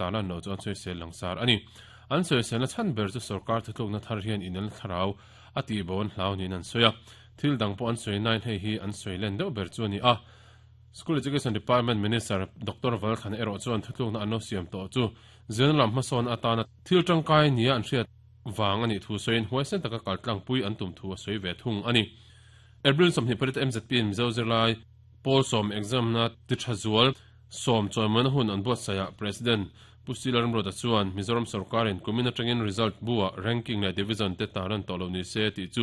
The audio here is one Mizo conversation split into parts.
Tarlan loh chu an sawisel langsar a ni. An sawiselna chhan ber chu sorkar thutlukna thar hian inelna thlarau a tihbo an hlau niin an sawi a. Thil dang pawh an sawi nain hei hi an sawi len deuh ber chu a ni a. School Education Department Minister Doctor Valthana erawh chuan thutlukna an lo siam tawh chu zirna lam hmasawn atana thil tangkai nia an hriat vang a nih thu sawiin huaisen taka kaltlangpui an tum thu a sawi ve thung a ni. April 28 MZP in Mizo zirlai pawl sawm exam-na ti tha zual Sawm chawimawina hun an buatsaihah President Pu Sila Ramruata chuan Mizoram sorkarin kumin atangin result bu-ah ranking leh division te tar an tawh lo ni se tih chu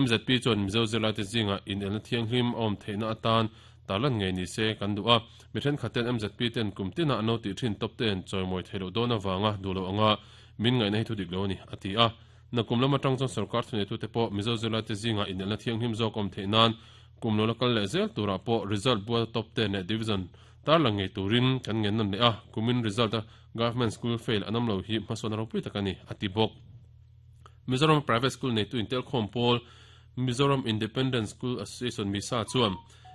MZP chuan Mizo zirlaite zingah inelna thianghlim a awm theihna atan tarlan ngei ni se kan duh a. Mi thenkhatten MZP ten kum tinah an lo tih thin tawp te'n chawimawi theih loh dawn avanga duh loh anga min ngaihna hi thu dik lo a ni, a ti a. Nakum lam atang chuan sorkar thuneitute pawh Mizo zirlaite zingah inelna thianghlim zawk awm theih nan Kum lo la kal leh zel turah pawh result bual top ten leh division tarlang ngei turin kan ngen nawn leh a, kumin result a government school fail an awm lo hi hmasawn ropui tak a ni, a ti bawk. Mizoram private school neitu intelkhawm pawl Mizoram Independent School Association, MISA, chuan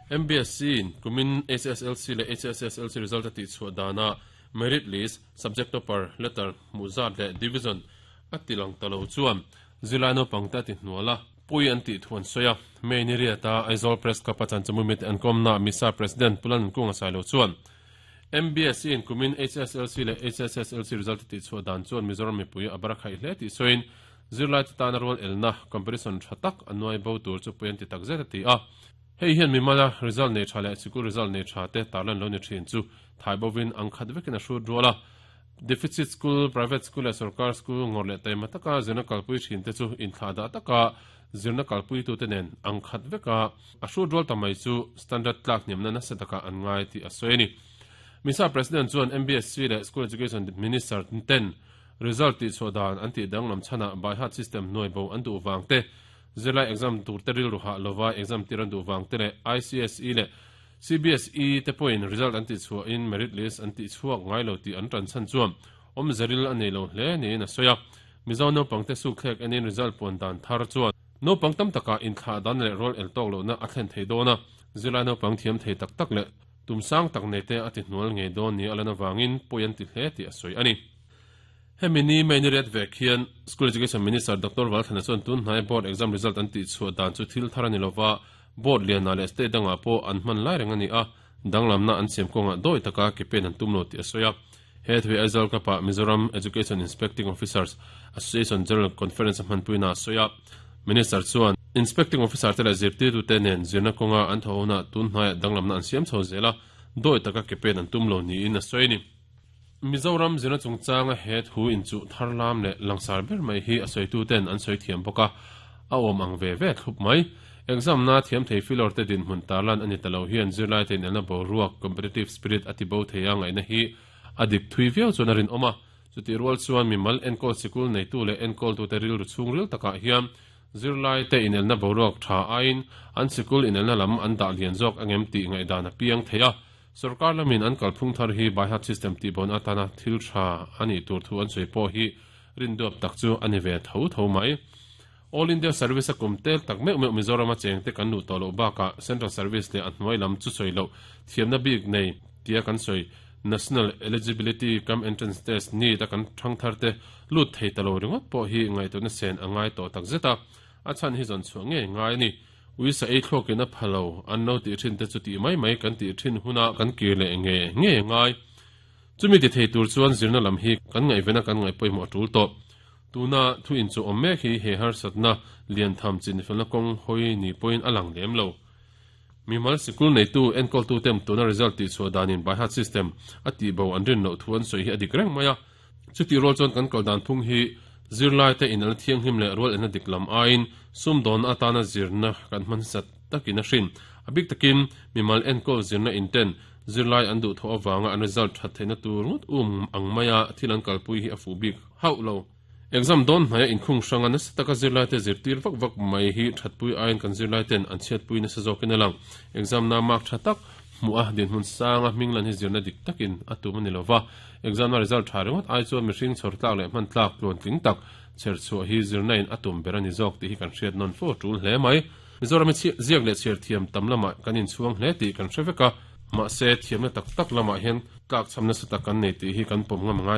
MBSC in kumin HSLC leh HSSLC result a tihchhuah danah merit list, subject topper, letter hmuh zat leh division a tilang ta lo chuan zirlai naupangte a ti hnual a. Pui an tih thu an sawi a. May ni riata Aizawl Press Club a chanchamui mite an kawmnaah MISA President Pu Lalnunkunga Sailo chuan MBSE in kumin HSLC leh HSSLC result a tihchhuah dan chuan Mizoram mipui a bar a khaih hle tih sawiin zirlaite tana rual elna, competition, tha tak a nuai bo tur chu pui an ti tak zet a ti a. Hei hian mimala result nei tha leh sikul result nei tha te tarlan lo ni thin chu thai bovin ang khat vekin a hrut rual a. Deficit school, private school leh sorkar school ngawrh leh taima taka zirna kalpui thin te chu inthlahdah taka zirna kalpuitute nen ang khat veka a hrut rual ta mai chu standard tlak hniamna nasa takah an ngai tih a sawi a ni. MISA President chuan MBSC leh School Education Minister ten result tihchhuah dan an tih danglam chhanah by-heart system hnuai bo an duh vang te, zirlai exam turte rilru hah lova exam tir an duh vang te leh ICSE leh CBSE te pawhin result an tihchhuahin merit list an tihchhuak ngai lo tih an tan chhan chuan awmzeril a nei lo hle niin a sawi a. Mizo naupangte sukthlek enin result puan dan thar chuan naupang tam takah inthlah dan leh rual el tawk lohna a thlen thei dawn a, zirlai naupang thiam thei tak tak leh tum sang tak nei te a ti hnual ngei dawn ni a lan avangin pawi an ti hle tih a sawi a ni. Hemi ni May ni riat vek hian School Education Minister Doctor Valthana chuan tun hnai board exam result an tihchhuah dan chu thil thar a ni lova, Board lianah leh state dangah pawh an hman lai reng a ni a, danglamna an siam kawngah dawi taka ke pen an tum lo tih a sawi a. He thu hi Aizawl Club-ah Mizoram Education Inspecting Officers Association General Conference a hmanpuina a sawi a. Minister chuan Inspecting Officer te leh zirtirtute nen zirna kawnga an thawh hunah tun hnaiah danglamna an siam chho zel a, dawi taka ke pen an tum lo niin a sawi a ni. Mizoram zirna chungchanga he thu inchuh thar lam leh langsar ber mai hi a sawituten an sawi thiam bawk a, a awm ang ve ve thlup mai. Exam-na thiam thei filawr te dinhmun tarlan a ni ta lo hian zirlaite inelna boruak, competitive spirit, a ti bo thei a ngaihna hi a dik thui viau chuan a rinawm a. Chutih rual chuan mimal enkawl sikul neitu leh enkawltute rilru chhungril takah hian zirlaite inelna boruak tha aiin an sikul inelna lam an dah lian zawk angem tih ngaihdan a piang thei a. Sorkar lamin an kalphung thar hi by-heart system tihbawn atana thil tha a nih tur thu an sawi pawh hi rinduap tak chu a ni ve tho tho mai. All India Service a kum tel tak meuh meuh Mizorama chengte kan luh tawh loh bakah Central Service leh a hnuai lam chu sawi loh thiamna bik nei tia kan sawi National Eligibility cum Entrance Test, NEET, a kan thangthar te lut thei ta lo ringawt pawh hi ngaihtuahna sen a ngai tawh tak zet a, a chhan hi zawn chhuah ngei ngai a ni. Uisa ei thluakin a pha lo, an lo tih thin te chu tih mai mai kan tih thin huna kan kir leh nge nge ngai. Chumi ti thei tur chuan zirna lam hi kan ngaihvena kan ngaih pawimawh a tul tawh. Tuna thu inchuh awm mek hi he harsatna lian tham chinfelna kawng hawi ni pawhin a lang lem lo. Mimal sikul neitu enkawltu tem tuna result tihchhuah danin by heart system a tihbo an rin loh thu an sawi hi a dik reng mai a. Chutih rual chuan kan kal dan phung hi zirlaite inelna thianghlim leh rual elna dik lam aiin sumdawnna atana zirna kan hman sat takin a hrin. A bik takin mimal enkawl zirna inten zirlai an duhthawh avanga an result that theihna tur ngawt um ang maia thil an kalpui hi a fuh bik hauh lo. Exam dawn hnaia inkhung hranga nasa taka zirlaite zirtir vak vak mai hi thatpui aiin kan zirlaiten an chhiatpui nasa zawkin a lang. Exam na mark tha tak hmuh a dinhmun sanga hming lan hi zirna dik takin a tum a ni lova. Exam na result tha ringawt ai chuan mihring chhawr tlak leh hman tlak tluan tling tak chher chhuah hi zirna in a tum ber a ni zawk tih hi kan hriat nawn fo a tul hle mai. Mizoram hi ziak leh chhiar thiam tam lamah kan inchhuang hle tih kan hre vek a. Mahse, thiamna tak tak lamah hian tlakchham nasa tak kan nei tih hi kan pawm ngam a ngai.